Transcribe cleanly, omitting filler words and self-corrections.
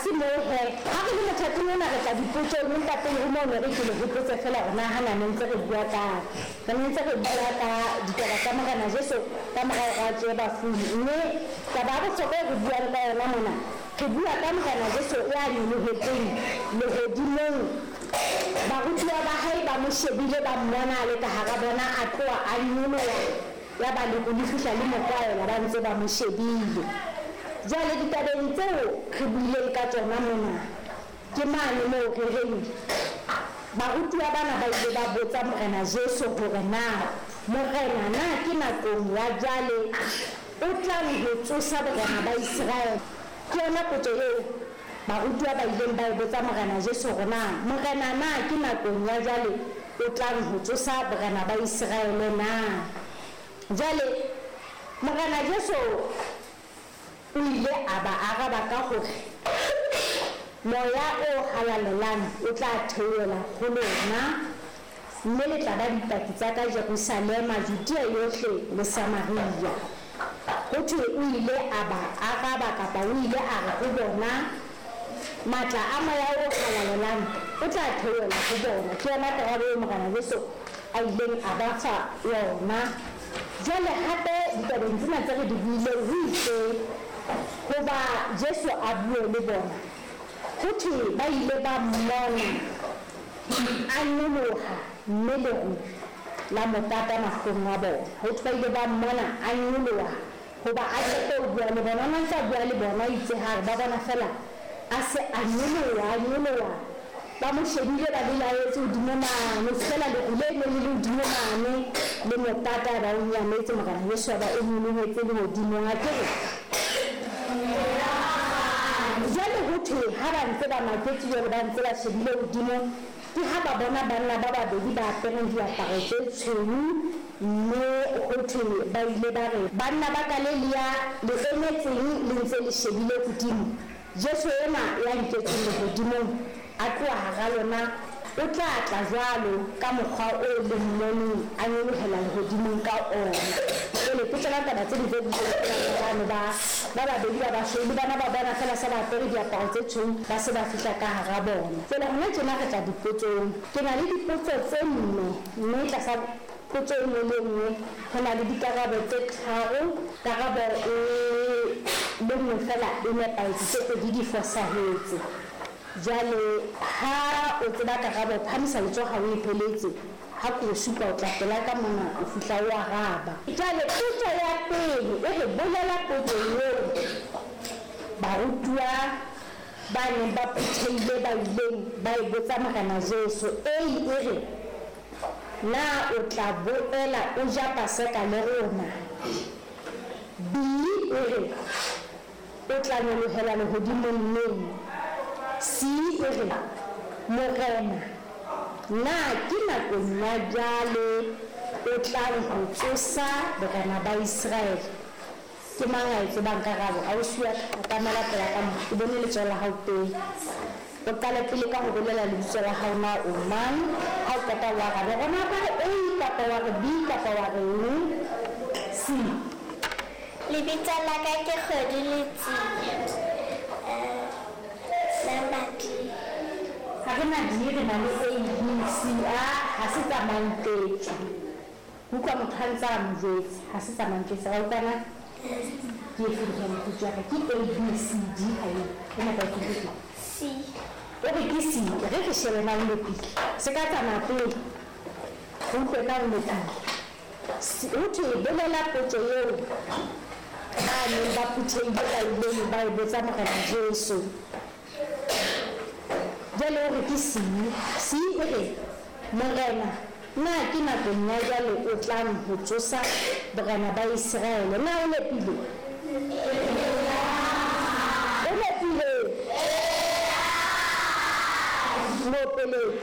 se moo he. Ha re le mothating ona re tla dipotsong, empa pele ho moo ne re ke le hopotse feela hore na hana ne ntse re bua kang. Re ne ntse re bua ka ditaba tsa Morena Jesu ka mora hore a tsohe bafung. Mme taba ya bohlokwa e re buang ka yona mona, re bua ka Morena Jesu ya nyolohetseng lehodimong. Barutuwa ba hae ba mo shebile, ba mmona a le ka hara bona, a tloha a nyoloha. Yaba leru le fihla le mo kwaela ba ntse ba mo shebile. Jwale ditabeng tseo re buileng ka tsona mona, ke mane moo re reng barutuwa bana ba ile ba botsa Morena Jesu hore na, Morena, na ke nakong ya jwale o tlang ho tsosa borena ba Iseraele? Ke yona potso eo barutuwa ba ileng ba e botsa Morena Jesu hore na, Morena, na ke nakong ya jwale o tlang ho tsosa borena ba Iseraele na? Jwale Morena Jesu o ile a ba araba ka hore, Moya o Halalelang o tla theohela ho lona, mme le tla ba dipaki tsa ka Jerusalema, Judea yohle le Samaria. Ho thwe o ile a ba araba kapa o ile a re ho bona, Matla a Moya o Halalelang o tla theohela ho bona. Ke yona karabo eo Morena Jesu a ileng a ba fa yona. Jwale hape ditabeng tsena tse re di buileng ho itse hoba Jesu a bue le bona, ho thwe ba ile ba mmona a nyoloha mme leru la mo pata mahlong a bona. Ho thwe ba ile ba mmona a nyoloha hoba a qete ho bua le bona. O ne a ntse a bua le bona, itse ha re ba bona feela a se a nyoloha, a nyoloha. Ba mo shebile ba belaetse hodimo mane, ho fihlela leru le neng le le hodimo mane le mo pata, ba o nyametse. Morena Jesu a ba o nyolohetse lehodimong. A ke re jwale ho thwe ha ba ntse ba maketse jwale, ba ntse ba shebile hodimo, ke ha ba bona banna ba babedi ba apereng diaparo tse tshweu, mme ho thwe ba ile ba re, Banna ba Galilea, le emetseng le ntse le shebile hodimo? Jesu enwa ya nketsweng lehodimong a tloha hara lona, o tla tla jwalo ka mokgwa oo le mmoneng a nyolohela lehodimong ka ona. Jwale ke tsona taba tse ding tse builweng ke banna bano ba ba babedi ba basweu, le bona ba bona feela se ba apere diaparo tse tshweu, ba se ba fihla ka hara bona. Jwale hona tjena re tla dipotsong. Ke na le dipotso tse nne, mme tlasa potso e nngwe le e nngwe ho na le dikarabo tse tharo. Karabo e le nngwe feela e nepahetse, tse pedi di fosahetse. Jwale ha o tseba karabo, phahamisa letsoho ha o e heletse. Ha ke o supa o tla pela ka mona, o fihla o araba. Jwale potso ya pele e re, bolela potso eo barutuwa ba neng ba phuthehile ba ileng ba e botsa Morena Jesu. A e re, Na o tla boela o ja Paseka le rona? B e re, O tla nyolohela lehodimong neng? C e re, Morena, na ke nakong ya jwale o tlang ho tsosa borena ba Iseraele? Ke mang a e tsebang karabo? Ausi wa ka, atamela pela ka mo, ke bone letsoho la hao pele. O qale pele ka ho bolela lebitso la hao na o mang, ha o qeta o arabe hore na o ka re A kapa wa re B kapa wa re eng. C. Lebitso la ka ke Kgwedi Letsie. Number D. Ha re na D, re na le A, B, C. A ha se tsa Manketswa. Utlwa motho a ntse a mo jwetsa, ha se tsa Manketswa. Ra utlwana? Ke efe ntho ya mokgotsi wa ka? Ke A, B, C, D ha eo. E nepahetse ke efe? C. O re ke C. Re re shebe na o nepile. Se ka tsamaya pele. Re utlwe na o nepile. C, ho thwe bolela potso eo ba neng ba phuthehile ba ileng ba e botsa Morena Jesu. Jwale o re ke C. C e re, Morena, na ke nakong ya jwale o tlang ho tsosa borena ba Iseraele? Na o nepile? O nepile? Mo opeleng.